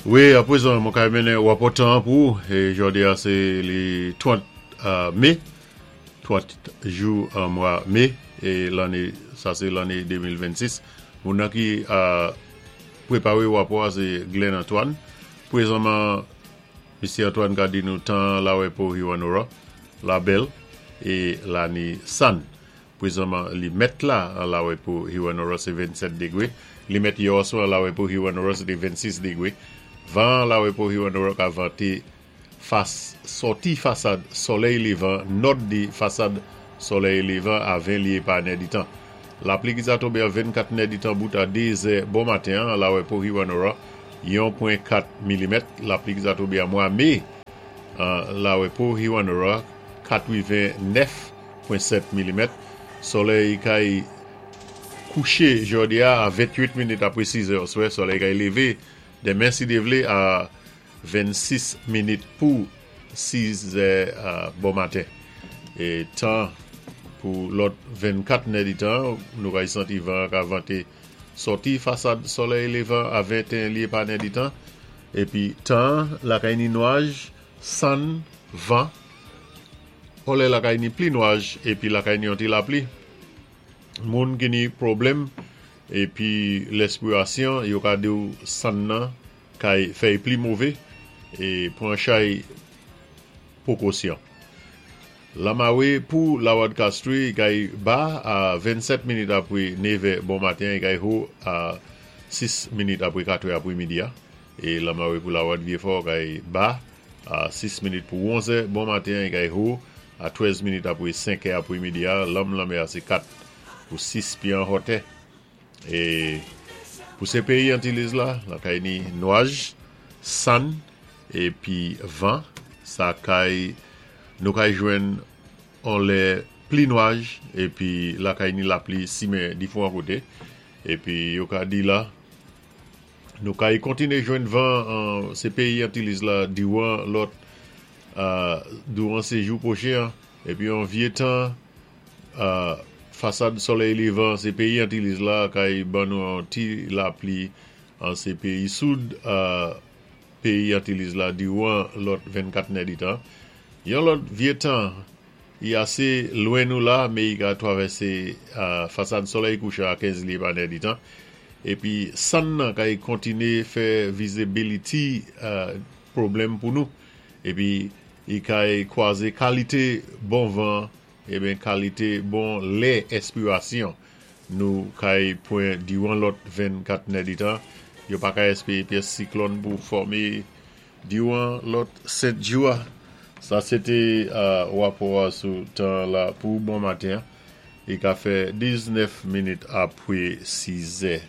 Wi, apwézan mwen kay mennen wapò tan an pou ou. É jòdi a sé li 30 mé, 30 jou an mwa mé, é lanné sa sé lanné 2026. Moun nan ki pwéparé wapò a sé Glenn Antoine. Pwézanman Misyé Antoine ka di nou tan an lawè pou Hewanorra la bèl é la ni sann. Pwézanman li mèt la an lawè pou Hewanorra sé 27 dégwé. Li mèt yè oswa an lawè pou Hewanorra sé té 26 dégwé. Van an lawè pou Hewanorra ka vanté fas sòti fasad sòlèy lévan nòd di fasad sòlèy lévan a 20 lyé pa nèditan. Lapli ki sa tonbé an 24 nèditan bout a 2 zè bon maten an lawè pou Hewanorra yon pwen 4 milimèt. Lapli ki sa tonbé an mwa mé an lawè pou Hewanorra 89 7 milimèt. Solèy kay kouché jòdi a a 28 minit apwé 6 zè oswè. Solèy kay lévé denmen si Dye vlé a 26 minit pou 6 zè bon maten. E tan pou lòt 24 nèditan, nou kay santi van an ka vante sòti fasad solèy levan a 21 lye pa nèditan. Epi tan lakay ni nwaj, sann, van. Kòlè lakay ni pli nwaj epi lakay ni yon ti lapli. Moun ki ni pwoblèm epi lèspirasyon yo ka diw sann nan kay fèy pli move e pran chay pwokosyon. Lamawe pou Lawad Castry kay ba a 27 minit apre nevè bon maten e kay ho a 6 minit apre katrè apre midi a. E lamawe pou Lawad Vyefò kay ba A 6 minit pou onzè bon maten an e kay ho a 13 minit apre 5 è apre midi a, lanm lanmè a se 4 pou 6 pye an hòtè. E pou se peyi Antilles la, lakay ni nwaj, sann epi van, sa kay nou kay jwenn on lè pli nwaj epi lakay ni lapli simen difwan kote. Epi yo ka di la. Nou kay kontine jwenn van an se peyi Antilles la diwan lòt douran sejou pwochen an epi yon vye tan fasad solèy levan se peyi Antilles la kay ban nou yon ti lapli an se peyi soud peyi Antilles la diwan lòt 24 nèditan yon lòt vye tan I ase lwen nou la, me i ka twavèse fasad solèy kouchan a 15 lye pa nèditan. Epi sann nan kay kontine fè vizibiliti pwoblèm pou nou. Epi i kay kwaze kalite bon van eben kalite bon lè èspirasyon nou kay pwen diran lòt 24 nèditan. Yo pa ka espere pyès siklòn pou fòme Diwan lòt 7 jou a. Sa se te rapò a sou tan la pou bon maten an. Li ka fè 19 minit apre 6 zè.